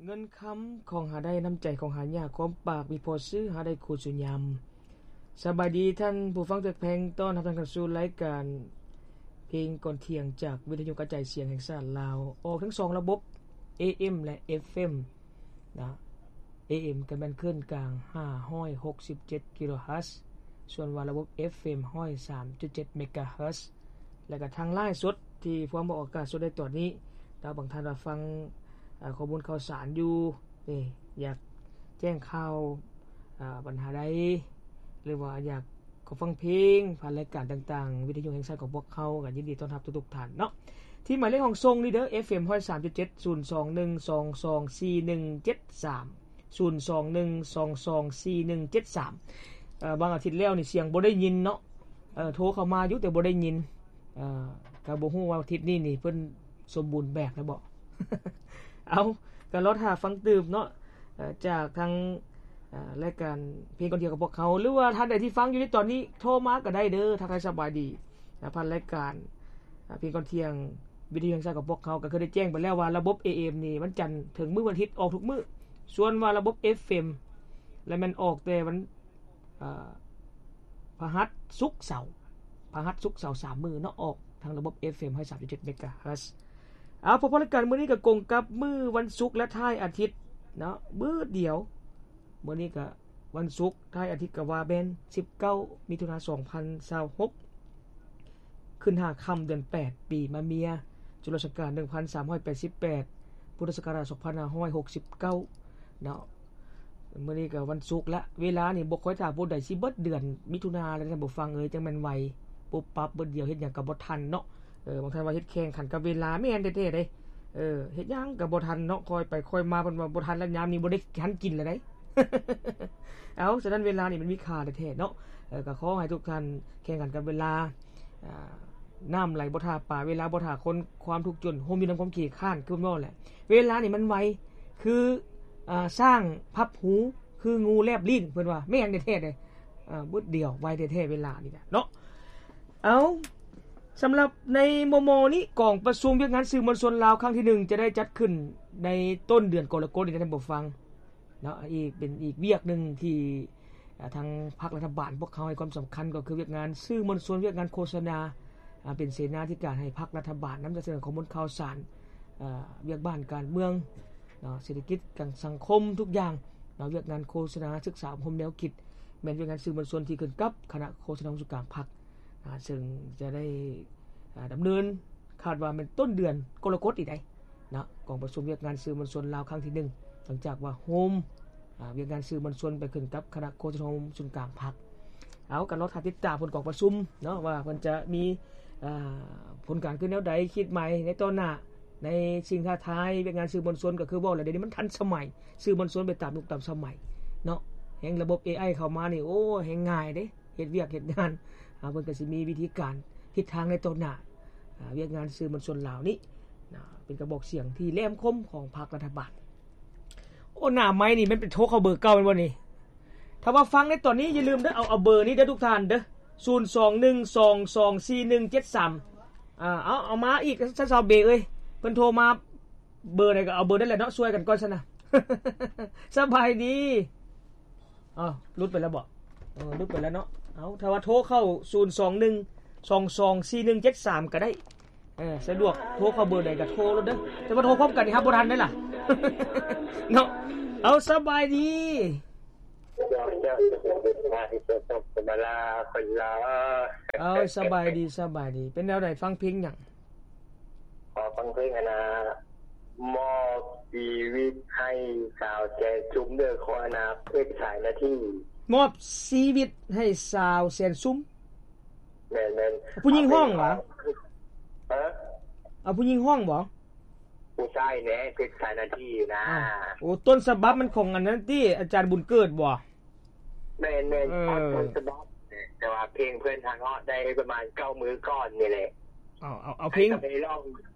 ເງິນຄຳຂອງຫາໄດ້, ນ້ຳໃຈຂອງຫາຍາກ, ຄວາມປາກມີພໍຊື້, ຫາໄດ້ຄູ່ສູ່ຍາມ. ສະບາຍດີທ່ານຜູ້ຟັງທີ່ຮັກແພງ, ຕ້ອນຮັບທ່ານເຂົ້າສູ່ລາຍການເພງກ່ອນທ່ຽງ ຈາກວິທະຍຸກະຈາຍສຽງແຫ່ງຊາດລາວ, ອອກທັງສອງລະບົບ ເອເອັມ ແລະ ເອັຟເອັມ ນະ. ເອເອັມ ກໍແມ່ນຄື້ນກາງຫ້າຮ້ອຍຫົກສິບເຈັດກິໂລເຮີດ, ສ່ວນວ່າລະບົບ ເອັຟເອັມ ຮ້ອຍສາມຈຸດເຈັດເມກາເຮີດ. ແລະກະທາງລາຍສົດທີ່ພວມອອກອາກາດສົດໃນຕອນນີ້, ແລ້ວບາງທ່ານວ່າຟັງ ເອີ ຂໍ້ມູນຂ່າວສານຢູ່ ນີ້ ຢາກແຈ້ງຂ່າວ ເອີ ບັນຫາໃດ ຫຼືວ່າຢາກຂໍຟັງເພງຜ່ານລາຍການຕ່າງໆ ວິທະຍຸແຫ່ງຊາດຂອງພວກເຮົາ, ກໍຍິນດີຕ້ອນຮັບທຸກໆທ່ານເນາະ. ທີ່ໝາຍເລກຫ້ອງສົ່ງນີ້ເດີ ເອັຟເອັມ ຮ້ອຍສາມຈຸດເຈັດ ສູນສອງໜຶ່ງສອງສອງສີ່ໜຶ່ງເຈັດສາມ ສູນສອງໜຶ່ງສອງສອງສີ່ໜຶ່ງເຈັດສາມ. ເອີ ບາງອາທິດແລ້ວນີ້ສຽງບໍ່ໄດ້ຍິນເນາະ, ເອີ ໂທເຂົ້າມາຢູ່ແຕ່ບໍ່ໄດ້ຍິນ. ເອີ ກໍບໍ່ຮູ້ວ່າອາທິດນີ້ນີ້ເພິ່ນສົມບູນແບບແລ້ວບໍ່? ເອົາ ກໍລໍຖ້າຟັງຕື່ມເນາະ ເອີ ຈາກທາງ ເອີ ລາຍການເພງກ່ອນທ່ຽງຂອງພວກເຮົາ, ຫຼືວ່າທ່ານໃດທີ່ຟັງຢູ່ໃນຕອນນີ້ ໂທມາກໍໄດ້ເດີ, ທັກທາຍສະບາຍດີ ນະ ຜ່ານລາຍການ ເພງກ່ອນທ່ຽງ ວິທະຍຸແຫ່ງຊາດຂອງພວກເຮົາ. ກໍຄືໄດ້ແຈ້ງໄປແລ້ວວ່າລະບົບ ເອເອັມ ນີ້ ວັນຈັນເຖິງມື້ວັນອາທິດອອກທຸກມື້, ສ່ວນວ່າລະບົບ ເອັຟເອັມ ລະແມ່ນອອກແຕ່ວັນ ເອີ ພະຫັດ ສຸກ ເສົາ, ພະຫັດ ສຸກ ເສົາ ສາມມື້ເນາະ, ອອກທາງລະບົບ ເອັຟເອັມ ຮ້ອຍສາມຈຸດເຈັດເມກາເຮີດ. ເອົາ ເພາະລາຍການມື້ນີ້ກໍກົງກັບມື້ວັນສຸກ ແລະ ທ້າຍອາທິດເນາະ ມື້ດຽວ. ມື້ນີ້ກໍວັນສຸກ ທ້າຍອາທິດກໍວ່າແມ່ນ ສິບເກົ້າ ມິຖຸນາ ສອງພັນຊາວຫົກ ຂຶ້ນຫ້າຄ່ຳ ເດືອນແປດ ປີມະເມຍ, ຈຸລະສັກກາດ ໜຶ່ງພັນສາມຮ້ອຍແປດສິບແປດ ພຸດທະສັກກະລາດ ສອງພັນຫ້າຮ້ອຍຫົກສິບເກົ້າ ເນາະ. ມື້ນີ້ກໍວັນສຸກລະ, ເວລານີ້ບໍ່ຄ່ອຍຖ້າຜູ້ໃດຊິເບິດເດືອນມິຖຸນາແລ້ວ ທ່ານຜູ້ຟັງເອີຍ, ຈັ່ງແມ່ນໄວ, ປຸບປັບ ເບິດດຽວ, ເຮັດຫຍັງກໍບໍ່ທັນເນາະ. ເອີ ບາງທ່ານວ່າເຮັດແຂ່ງຂັນກັບເວລາ, ແມ່ນແທ້ໆເດ້. ເອີ ເຮັດຫຍັງກໍບໍ່ທັນເນາະ, ຄ່ອຍໄປຄ່ອຍມາ, ເພິ່ນວ່າບໍ່ທັນແລ້ວ, ຍາມນີ້ບໍ່ໄດ້ທັນກິນແລ້ວເດ້. ເອົາ ສະນັ້ນເວລານີ້ມັນມີຄ່າແທ້ໆເນາະ. ເອີ ກໍຂໍໃຫ້ທຸກທ່ານແຂ່ງຂັນກັບເວລາ, ອາ ນ້ຳໄຫຼບໍ່ຖ້າປາ, ເວລາບໍ່ຖ້າຄົນ, ຄວາມທຸກຈົນໂຮມຢູ່ນຳຄວາມຂີ້ຄ້ານ, ຄືເພິ່ນເວົ້າແຫຼະ. ເວລານີ້ມັນໄວ ຄື ອາ ຊ້າງພັບຫູ, ຄືງູແລບລີ້ນ, ເພິ່ນວ່າແມ່ນແທ້ໆເດ້. ອາ ບຶດດຽວ, ໄວແທ້ໆເວລານີ້ນະເນາະ. ເອົາ ສຳລັບໃນມໍ່ໆນີ້, ກອງປະຊຸມວຽກງານສື່ມວນຊົນລາວຄັ້ງທີໜຶ່ງ ຈະໄດ້ຈັດຂຶ້ນໃນຕົ້ນເດືອນກໍລະກົດນີ້ ທ່ານຜູ້ຟັງ. ເນາະ, ອີກ ເປັນອີກວຽກໜຶ່ງທີ່ ເອີ ທາງພັກລັດຖະບານພວກເຮົາໃຫ້ຄວາມສຳຄັນ ກໍຄືວຽກງານສື່ມວນຊົນ, ວຽກງານໂຄສະນາ, ອາ ເປັນເສນາທິການໃຫ້ພັກລັດຖະບານ ນຳສະເໜີຂໍ້ມູນຂ່າວສານ, ເອີ ວຽກບ້ານການເມືອງເນາະ, ເສດຖະກິດ, ການສັງຄົມ, ທຸກຢ່າງເນາະ. ວຽກງານໂຄສະນາ, ສຶກສາອົບຮົມແນວຄິດ ແມ່ນວຽກງານສື່ມວນຊົນທີ່ຂຶ້ນກັບຄະນະໂຄສະນາອົງສູນກາງພັກ. ອາ ເຊິ່ງຈະໄດ້ ອາ ດຳເນີນ ຄາດວ່າແມ່ນຕົ້ນເດືອນກໍລະກົດນີ້ໄດ໋ເນາະ, ກອງປະຊຸມວຽກງານສື່ມວນຊົນລາວຄັ້ງທີໜຶ່ງ ຫຼັງຈາກວ່າໂຮມ ອາ ວຽກງານສື່ມວນຊົນໄປຂຶ້ນກັບຄະນະໂຄສະນາອົງສູນກາງພັກ. ເອົາ ກໍລໍຖ້າຕິດຕາມຜົນກອງປະຊຸມເນາະ ວ່າເພິ່ນຈະມີ ອາ ຜົນການຄືແນວໃດ, ຄິດໃໝ່ໃນຕໍ່ໜ້າ, ໃນສິ່ງທ້າທາຍວຽກງານສື່ມວນຊົນ. ກໍຄືເວົ້າແຫຼະ ດຽວນີ້ມັນທັນສະໄໝ, ສື່ມວນຊົນໄປຕາມຍຸກຕາມສະໄໝເນາະ, ແຮ່ງລະບົບ ເອໄອ ເຂົ້າມານີ້ ໂອ້ ແຮ່ງງ່າຍເດ້. ເຮັດວຽກເຮັດງານ ອາ ເພິ່ນກໍຊິມີວິທີການທິດທາງໃນຕໍ່ໜ້າ ອາ ວຽກງານສື່ມວນຊົນລາວນີ້ນະ ເປັນກະບອກສຽງທີ່ແຫຼມຄົມຂອງພັກລັດຖະບານ. ໂອ້ ໜ້າໄມນີ້ແມ່ນໄປໂທເຂົ້າເບີເກົ່າແມ່ນບໍ່ນີ້? ຖ້າວ່າຟັງໃນຕອນນີ້ຢ່າລືມເດີ ເອົາ ເອົາເບີນີ້ເດີທຸກທ່ານເດີ ສູນສອງໜຶ່ງສອງສອງສີ່ໜຶ່ງເຈັດສາມ. ອາ ເອົາ ເອົາມາອີກ ຊາວເບເອີຍ ເພິ່ນໂທມາ ເບີໃດກໍເອົາເບີນັ້ນແຫຼະເນາະ ຊ່ວຍກັນກ່ອນຊັ້ນນະ. ສະບາຍດີ. ອ້າວ ຫຼຸດໄປແລ້ວບໍ? ເອີ ຫຼຸດໄປແລ້ວເນາະ. ເອົາ ຖ້າວ່າໂທເຂົ້າສູນສອງໜຶ່ງສອງສອງສີ່ໜຶ່ງເຈັດສາມກໍໄດ້. ເອີ ສະດວກໂທເຂົ້າເບີໃດກໍໂທໂລດເດີ. ແຕ່ວ່າໂທພ້ອມກັນນີ້ຮັບບໍ່ທັນເດ້ລະ ເນາະ. ເອົາ ສະບາຍດີ. ເອົາ ສະບາຍດີ ສະບາຍດີ. ເປັນແນວໃດ ຟັງເພງຫຍັງ? ຂໍຟັງເພງອັນນ່າ ມອບຊີວິດໃຫ້ສາວແສນຊຸມເດີ ຂອງອັນນ່າ ເພັດສາຍນາທີ. ມອບຊີວິດໃຫ້ສາວແສນຊຸມ? ແມ່ນໆ. ຜູ້ຍິງຮ້ອງຫວາ? ຮະ? ເອົາຜູ້ຍິງຮ້ອງບໍ? ຜູ້ຊາຍແຫຼະ ເພັດສາຍນາທີນະ. ໂອ້ ຕົ້ນສະບັບມັນຂອງອັນນັ້ນຕິ ອາຈານບຸນເກີດບໍ? ແມ່ນໆ ເອີ ເອົາຕົ້ນສະບັບ ແຕ່ວ່າເພງເພິ່ນຫັ້ນເນາະ ໄດ້ປະມານເກົ້າມື້ກ່ອນນີ້ແຫຼະ. ເອົາ ເອົາ ເອົາເພງ ໃຫ້ສະເບລອງ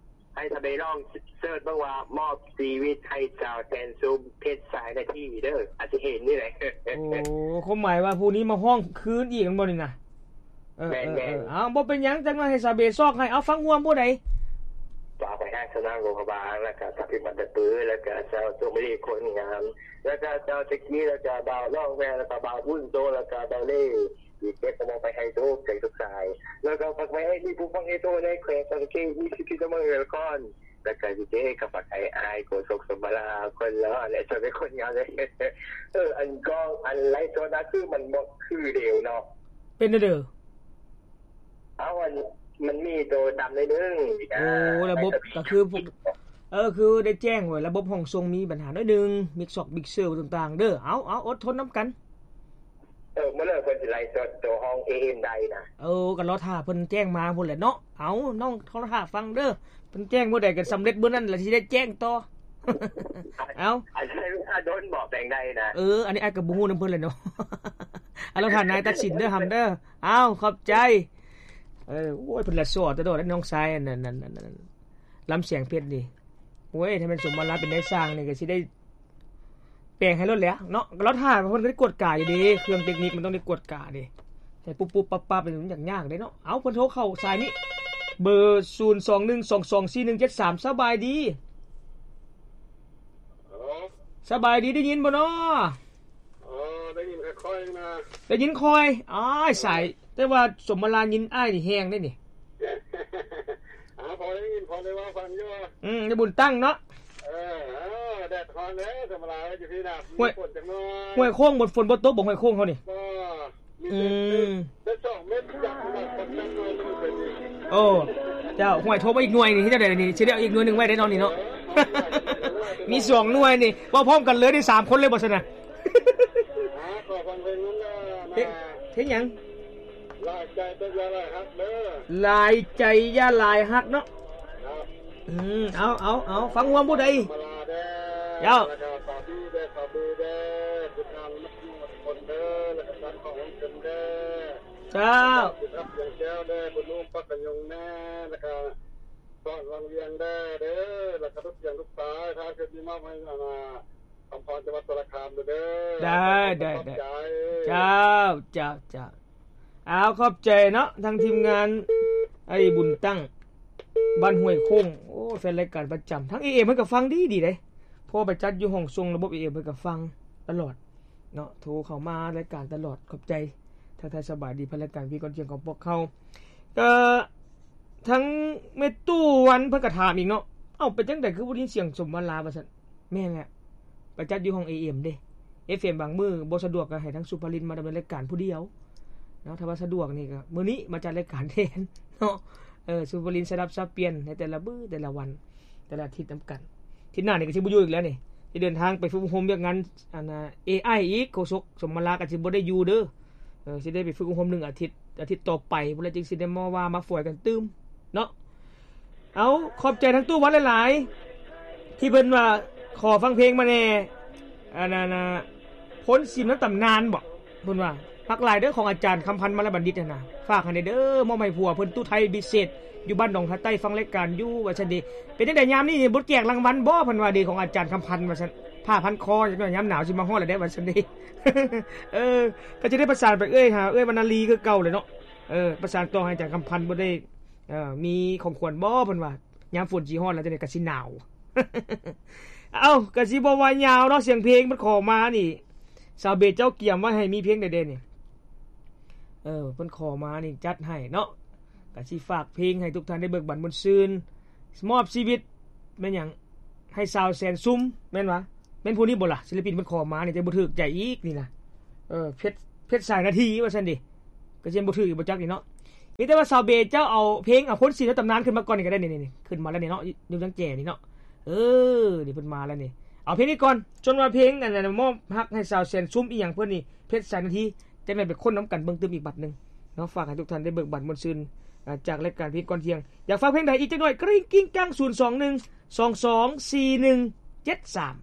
ໃຫ້ສະເບລອງເສີດເບິ່ງວ່າ ມອບຊີວິດໃຫ້ສາວແສນຊຸມ ເພັດສາຍນາທີເດີ ອາດຈະເຫັນນີ້ແຫຼະ. ໂອ້ ຄວາມໝາຍວ່າຜູ້ນີ້ມາຮ້ອງຄືນອີກແມ່ນບໍ່ນີ້ນະ? ເອີ ແມ່ນໆ ເອີ ເອົາ ບໍ່ເປັນຫຍັງ ຈັກໜ້ອຍໃຫ້ສາວເບຊອກໃຫ້. ເອົາ ຟັງຮ່ວມຜູ້ໃດ? ຝາກໄປຫາຊາວນາງຫຼວງພະບາງ ແລ້ວກະຊາວພິມບັນຕະປື ແລ້ວກະຊາວໂຊມະລີຄົນງາມ ແລ້ວກະຊາວຕະກີ້ ແລ້ວກະບ່າວລອງແວ ແລ້ວກະບ່າວບຸນໂຕ ແລ້ວກະບ່າວເລ ທີ່ເກັບເອົາມາໄປໃຫ້ທຸກໃຈທຸກສາຍ ແລ້ວກະຝາກໄວ້ໃຫ້ມີຜູ້ຟັງເອໂຕໃນແຂວງສະຫວັນນະເຂດ ມີສິດທິນະຄອນ ແລ້ວກະຊິເຈກັບຝາກໃຫ້ອ້າຍໂຄສົກສົມມາລາ ຄົນຫຼໍ່ ແລະ ເຈົ້າເປັນຄົນງາມເດ້. ເອີ ອັນກ້ອງ ອັນໄລຟ໌ສົດນະ ຄືມັນບໍ່ຄືເດີວເນາະ ເປັນແນວໃດ? ເອົາ ອັນ ມັນມີໂຕດຳໜ້ອຍໜຶ່ງ. ໂອ້ ລະບົບກະຄືພວກ ເອີ ຄືໄດ້ແຈ້ງໄວ້ ລະບົບຫ້ອງສົ່ງມີບັນຫາໜ້ອຍໜຶ່ງ ມິກຊອກມິກເຊີຕ່າງໆເດີ. ເອົາ ເອົາ ອົດທົນນຳກັນ. ເອີ ມື້ເລີກເພິ່ນຊິໄລຟ໌ສົດໂຕຫ້ອງເອເອັມໄດ້ນະ. ເອີ ກະລໍຖ້າເພິ່ນແຈ້ງມາພຸ້ນແຫຼະເນາະ. ເອົາ ນ້ອງລໍຖ້າຟັງເດີ ເພິ່ນແຈ້ງມື້ໃດກະສຳເລັດມື້ນັ້ນລະ ຊິໄດ້ແຈ້ງຕໍ່. ເອົາ ອັນໃຊ້ເວລາດົນບໍ ແປງໄດ້ນະ. ເອີ ອັນນີ້ອ້າຍກະບໍ່ຮູ້ນຳເພິ່ນແຫຼະເນາະ. ເອົາ ລໍຖ້ານາຍຕັດສິນເດີ ຫຳເດີ. ເອົາ ຂອບໃຈ. ເອີ ໂອ້ຍ ເພິ່ນລະຊໍຕະໂດດ ນ້ອງຊາຍ ອັນນັ້ນ ລຳສຽງເພັດນີ້. ໂອ້ຍ ຖ້າແມ່ນສົມມາລາເປັນນາຍຊ່າງນີ້ກະຊິໄດ້ແປງໃຫ້ໂລດແຫຼະເນາະ. ກະລໍຖ້າເພິ່ນກະໄດ້ກວດກາຢູ່ເດ ເຄື່ອງເຕັກນິກມັນຕ້ອງໄດ້ກວດກາເດ ໃຫ້ປຸບໆປັບໆ ມັນຍາກໆເດເນາະ. ເອົາ ເພິ່ນໂທເຂົ້າສາຍນີ້ ເບີ ສູນສອງໜຶ່ງສອງສອງສີ່ໜຶ່ງເຈັດສາມ. ສະບາຍດີ. ສະບາຍດີ ໄດ້ຍິນບໍ່ນໍ? ອໍ ໄດ້ຍິນຄ່ອຍໆນະ. ໄດ້ຍິນຄ່ອຍ. ອ້າຍ ສາຍ ແຕ່ວ່າສົມມາລາຍິນອ້າຍນີ້ແຮງເດ້ນີ້. ອາ ພໍໄດ້ຍິນ ພໍໄດ້ເວົ້າຟັງຢູ່. ອືມ ຢູ່ບຸນຕັ້ງເນາະ. ເອີ ເອີ ແດດຮ້ອນເດ້ ສົມມາລາຢູ່ພີ້ນະ. ຫ້ວຍ ມີຝົນຈັກໜ້ອຍ. ຫ້ວຍໂຄ້ງ ຝົນບໍ່ຕົກບໍ່ ຫ້ວຍໂຄ້ງເຮົານີ້? ບໍ່ ມີ ອືມ ເປັນ ເປັນສອງເມັດ ຢາກ ຢາກ ໂອ້ ເຈົ້າ ຫ້ວຍ ໂທມາອີກໜ່ວຍນີ້ ເຮັດຈັ່ງໃດນີ້ ຊິໄດ້ເອົາອີກໜ່ວຍໜຶ່ງໄວ້ໄດ້ເນາະນີ້ເນາະ. ມີສອງໜ່ວຍນີ້ ເວົ້າພ້ອມກັນເລີຍ ໄດ້ສາມຄົນເລີຍບໍ່ຊັ້ນນະ. ອາ ຂໍຟັງເພງນັ້ນເດີ. ເພງ ເພງຫຍັງ? ຫຼາຍໃຈແຕ່ຢ່າຫຼາຍຮັກເດີ. ຫຼາຍໃຈຢ່າຫຼາຍຮັກເນາະ. ອືມ ເອົາ ເອົາ ເອົາ ຟັງຮ່ວມຜູ້ໃດ? ມາລາເດີ ເຈົ້າ ແລ້ວກະສາວບີເດີ ສາວບືເດີ ທີມງານໝົດທຸກຄົນເດີ ແລ້ວກະສາວຂອງເພິ່ນເດີ. ເຈົ້າ ສຽງແກ້ວເດີ ບຸນລຸງ ປັກກະຍົງແນ່ ແລ້ວກະສອນວັງວຽງແດ່ເດີ ແລ້ວກະທຸກສຽງທຸກສາຍ ທາງເຂດນີ້ມອບໃຫ້ ອັນນ່າ ຄຳພອນ ຈັງຫວັດສາລະຄາມເດີ. ໄດ້ ໄດ້ ຂອບໃຈ ເຈົ້າ ເຈົ້າ ເຈົ້າ. ອ້າວ ຂອບໃຈເນາະ ທາງທີມງານໄອ້ບຸນຕັ້ງ ບ້ານຫ້ວຍໂຄ້ງ. ໂອ້ ແຟນລາຍການປະຈຳ ທາງເອເອັມເພິ່ນກະຟັງດີໆເດ້ ເພາະວ່າໄປຈັດຢູ່ຫ້ອງສົ່ງລະບົບເອເອັມ ເພິ່ນກະຟັງຕະຫຼອດເນາະ ໂທເຂົ້າມາລາຍການຕະຫຼອດ. ຂອບໃຈ ທັກທາຍສະບາຍດີຜ່ານລາຍການວຽກກ່ອນທ່ຽງຂອງພວກເຮົາ. ກະທາງແມ່ຕູ້ວັນເພິ່ນກະຖາມອີກເນາະ ເອົ້າ ເປັນຈັ່ງໃດຄືບໍ່ໄດ້ຍິນສຽງສົມມາລາວ່າຊັ້ນ. ແມ່ນແຫຼະ ໄປຈັດຢູ່ຫ້ອງເອເອັມເດ້ ເອັຟເອັມບາງມື້ບໍ່ສະດວກກະໃຫ້ທາງສຸພາລິນມາດຳເນີນລາຍການຜູ້ດຽວເນາະ. ຖ້າວ່າສະດວກນີ້ກະມື້ນີ້ມາຈັດລາຍການແທນເນາະ. ເອີ ສຸພາລິນສະດັບສັບປ່ຽນໃນແຕ່ລະມື້ ແຕ່ລະວັນ ແຕ່ລະອາທິດນຳກັນ. ອາທິດໜ້ານີ້ກະຊິບໍ່ຢູ່ອີກແລ້ວນີ້ ຊິເດີນທາງໄປຝຶກອົບຮົມວຽກງານ ອັນນ່າ ເອໄອອີກ. ໂຄສົກສົມມາລາກະຊິບໍ່ໄດ້ຢູ່ເດີ. ເອີ ຊິໄດ້ໄປຝຶກອົບຮົມໜຶ່ງອາທິດ ອາທິດຕໍ່ໄປພຸ້ນລະ ຈຶ່ງຊິໄດ້ມາວ່າມາຝອຍກັນຕື່ມເນາະ. ເອົາ ຂອບໃຈທາງຕູ້ວັນຫຼາຍໆ ທີ່ເພິ່ນວ່າຂໍຟັງເພງມາແດ່ ອັນນັ້ນ ພົ້ນຊີມນຳຕຳນານບໍ ເພິ່ນວ່າ ມັກຫຼາຍເດີ ຂອງອາຈານຄຳພັນ ມາລະບັນດິດຫັ້ນນະ ຝາກໃຫ້ແດ່ເດີ ມອບໃຫ້ຜົວເພິ່ນ ຕູ້ໄທ ບິເສດ ຢູ່ບ້ານໜອງທາໃຕ້ ຟັງລາຍການຢູ່ ວ່າຊັ້ນເດ. ເປັນຈັ່ງໃດຍາມນີ້ ບໍ່ແຈກລາງວັນບໍ ເພິ່ນວ່າເດ ຂອງອາຈານຄຳພັນວ່າຊັ້ນ ຜ້າພັນຄໍ ຍາມໜາວຊິມາຮອດແລ້ວເດ້ ວ່າຊັ້ນເດ. ເອີ ກະຈະໄດ້ປະສານໄປເອື້ອຍ ຫາເອື້ອຍວັນນາລີຄືເກົ່າແຫຼະເນາະ. ເອີ ປະສານຕໍ່ໃຫ້ອາຈານຄຳພັນບໍ່ໄດ້ ເອີ ມີຂອງຂວັນບໍ ເພິ່ນວ່າ ຍາມຝົນຊິຮອດແລ້ວຈັ່ງໃດກະຊິໜາວ. ເອົ້າ ກະຊິບໍ່ວ່າຍາວເນາະ ສຽງເພງເພິ່ນຂໍມານີ້ ສາວເບດເຈົ້າກຽມໄວ້ໃຫ້ມີເພງໃດແດ່ນີ້? ເອີ ເພິ່ນຂໍມານີ້ຈັດໃຫ້ເນາະ. ກະຊິຝາກເພງໃຫ້ທຸກທ່ານໄດ້ເບີກບານມ່ວນຊື່ນ ມອບຊີວິດ ແມ່ນຫຍັງ ໃຫ້ສາວແສນຊຸມ ແມ່ນຫວາ? ແມ່ນຜູ້ນີ້ບໍ່ລະ? ສິລະປິນເພິ່ນຂໍມານີ້ ຈະບໍ່ຖືກໃຈອີກນີ້ນະ. ເອີ ເພັດ ເພັດສາຍນາທີວ່າຊັ້ນເດ. ກະຊິບໍ່ຖືກອີກບໍ່ຈັກນີ້ເນາະ. ມີແຕ່ວ່າສາວເບເຈົ້າເອົາເພງ ເອົາຄົນສີໃນຕຳນານຂຶ້ນມາກ່ອນນີ້ກະໄດ້ ນີ້ໆ ຂຶ້ນມາແລ້ວນີ້ເນາະ ຢູ່ທາງແຈນີ້ເນາະ. ເອີ ນີ້ເພິ່ນມາແລ້ວນີ້ ເອົາເພງນີ້ກ່ອນ. ສ່ວນວ່າເພງ ອັນນັ້ນ ມອບຮັກໃຫ້ສາວແສນຊຸມອີ່ຫຍັງເພິ່ນນີ້ ເພັດສາຍນາທີ ຈັ່ງໃດໄປຄົ້ນນຳກັນເບິ່ງຕື່ມອີກບັດໜຶ່ງເນາະ. ຝາກໃຫ້ທຸກທ່ານໄດ້ເບີກບານມ່ວນຊື່ນ ອາ ຈາກລາຍການພີກກ່ອນທ່ຽງ. ຢາກຟັງເພງໃດອີກຈັກໜ້ອຍ ກຣິ້ງກິ້ງກັງ ສູນສອງໜຶ່ງສອງສອງສີ່ໜຶ່ງເຈັດສາມ.